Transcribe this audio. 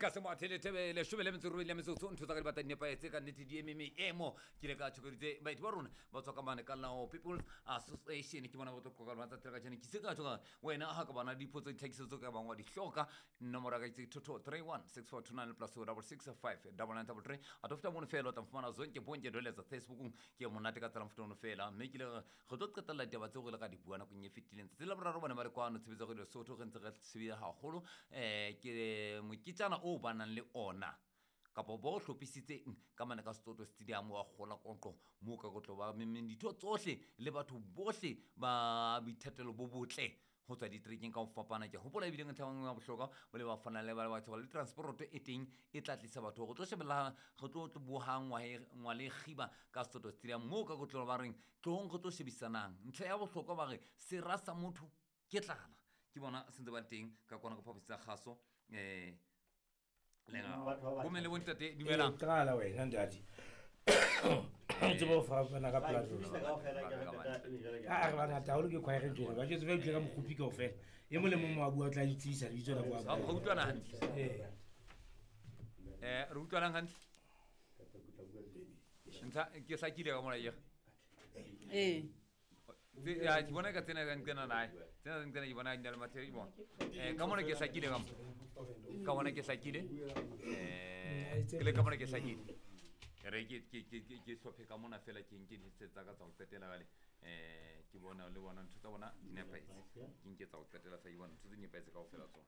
Nka se moathele thebe leshome le metso robedi le metsotso ntho tsa ka di batla di nepahetse ka nnete di eme meemo. Ke ile ka tjhokeditse baeti ba rona ba tswa ka mane ka Lao People's Association, ke bona ba tlo qoqa le tsa tsela kajeno. Ke se ka tjho ka wena ha ka bana dipotso ditlhakiso tse ka bang wa di hloka, nomoro ya ka ke 2231 6429 plus 665 9933. A to feta mono fela o tla mfumana zonke bonke doletsa Facebookong, ke monate ka tsela mofuta ono fela. Mme ke le re tlo qetella ditaba tseo re le ka di bua nakong e fetileng. Tsatsi la boraro bone ba le kwano tshebetso ya Lesotho, re ntse re sebile haholo ke moketjana o ba nang le ona kapa bo hlophisitseng ka mane ka Setsoto Stadium wa kgola qoqo moo ka kotlo ba memeng ditho tsohle le batho bohle ba boithatelo bo botle ho tswa diterekeng ka ho fapana. Ke hopola ebile ntlha e nngwe ya bohlokwa bo le ba fana le ba batho le transporoto e teng e tla tlisa batho go tlo shebella go tlo boha ngwale kgiba ka Setsoto Stadium moo ka kotlo ba reng tlohong re tlo shebisanang. Ntlha ya bohlokwa ba re sera sa motho ke tlala, ke bona sentse ba le teng ka kwana ka phaposi tsa kgaso. Bomme le bontate, dumelang. Qala wena ntate, o tsebe ho fapana ka platform. A re bangata haholo ke choir ntho ba jetse ba utlwe ka mokgopi kaofela, e mong le mong wa bua o tla itsebisa lebitso la bua. Re utlwana hantle? Re utlwanang hantle? Ntlha ke hlakile ka mona ye. Ee. Ya, ke bona ka tsena ka nqena nae tsena tsa nqena, ke bona di na le mathe, ke bona ka mona ke hlakile, ka mo ka bona ke hlakile, ke le ka mona ke hlakile. Re ke hlophe ka mona fela, ke nke ditse tsa ka tsa ho qetela jwale. Ke bona le bona ntho tsa bona di nepahetse, ke nke tsa ho qetela fela, ke bona ntho tse di nepahetse kaofela tsona.